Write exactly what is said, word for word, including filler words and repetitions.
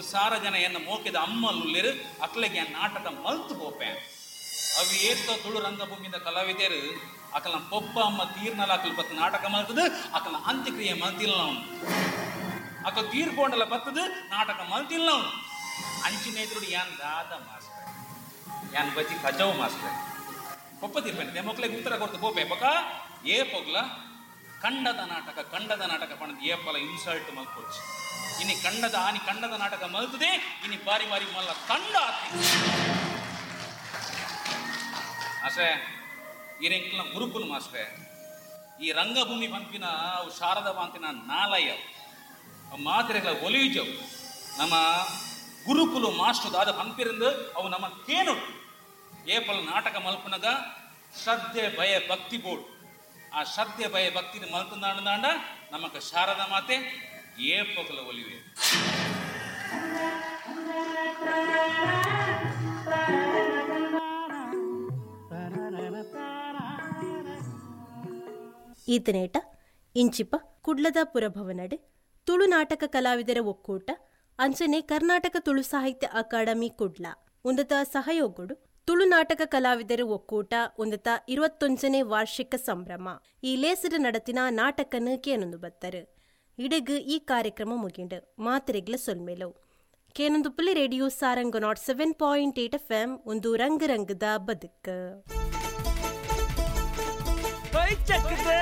ಮುಲ್ ಸಾರ ಜನ ಎನ್ನ ಮೋಕೆದ ಅಮ್ಮಲ್ಲುಲ್ಲೇರು ಅಕ್ಲೆಗೆ ನಾಟಕ ಮಲ್ತು ಪೋಪೆ. ಅವು ಏತ ತುಳು ರಂಗಭೂಮಿಯಿಂದ ಕಲಾವಿದರು ಅಕಲ ಪೊಪ್ಪ ಅಮ್ಮ ತೀರ್ನಲ ಅಕಲ್ ಬತ್ತು ನಾಟಕ ಮಲ್ತದು, ಅಕಲ ಅಂತ್ಯಕ್ರಿಯೆ ಮಲ್ತಿಲ್ಲ ಅವನು. ಅಕಲ್ ತೀರ್ಕೊಂಡಲ್ಲ ಬತ್ತದು ನಾಟಕ ಮಲ್ತಿಲ್ಲ ಅವನು. ಅಂಚಿನ ಎದುರು ಯಾನ್ ದಾದ ಮಾಸ್ಟರ್, ಯಾನ್ ಬಜ್ಜಿ ಕಜವು ಮಾಸ್ಟರ್ ಪೊಪ್ಪ ತೀರ್ಪೇನೆ ಮಕ್ಳಿಗೆ ಉತ್ತರ ಕೊಡ್ತು ಪೋಪೆ. ಪೊಕ ಏ ಪೊಗ್ಲ ಕಂಡದ ನಾಟಕ ಕಂಡದ ನಾಟಕ ಪಣದ ಏಪಲ ಇನ್ಸಲ್ಟ್ ಮಲ್ಕೊಚ್ಚು. ಇನಿ ಕಂಡದ ಆನಿ ಕಂಡದ ನಾಟಕ ಮಲ್ತದೆ, ಇನಿ ಬಾರಿ ಬಾರಿ ಮಲ್ಲ ಕಂಡ ಆತಿ ಅಷ್ಟೇ. ಇರೆಂಕ್ಲ ಗುರುಕುಲು ಮಾಸ್ಟ್ರೆ, ಈ ರಂಗಭೂಮಿ ಪಂಪಿನ ಅವು ಶಾರದ ಬಾಂತಿನ ನಾಲಯ ಅವು ಮಾತ್ರೆಗಳ ಒಲಿಯುಜವು. ನಮ್ಮ ಗುರುಕುಲು ಮಾಸ್ಟರ್ ದಾದ ಪಂಪಿರಂದು ಅವು ನಮ್ಮ ಕೇನು ಏಪಲ ನಾಟಕ ಮಲ್ಪುನಗ ಶ್ರದ್ಧೆ ಭಯ ಭಕ್ತಿ ಬೋರ್ಡ್. ಆ ಶ್ರದ್ಧೆ ಭಯ ಭಕ್ತಿ ಮಲ್ಪುಂದಾಂಡ ನಮಕ ಶಾರದ ಮಾತೆ ಏಪಕಲ ಒಲಿವೆ. ಈತನೇಟ ಇಂಚಿಪ ಕುಡ್ಲದ ಪುರಭವನಡೆ ತುಳು ನಾಟಕ ಕಲಾವಿದರ ಒಕ್ಕೂಟ ಅಂಚನೆ ಕರ್ನಾಟಕ ತುಳು ಸಾಹಿತ್ಯ ಅಕಾಡೆಮಿ ಕುಡ್ಲ ಉಂದತ ಸಹಯೋಗಡು ತುಳು ನಾಟಕ ಕಲಾವಿದರ ಒಕ್ಕೂಟ ಉಂದತ ಇರುವತ್ತೊಂಜನೇ ವಾರ್ಷಿಕ ಸಂಭ್ರಮ ಈ ಲೇಸರ ನಡತಿನ ನಾಟಕನು ಕೇನೊಂದು ಬತ್ತರು. ಇಡಗು ಈ ಕಾರ್ಯಕ್ರಮ ಮುಗಿಂಡು ಮಾತ್ರೆಗ್ಲ ಸೊಲ್ಮೇಲು ಕೇನೊಂದು ಪುಲಿ radio Sarang nought seven point eight F M ಒಂದು ರಂಗ ರಂಗದ ಬದುಕು. ಚಕ್ರೇ.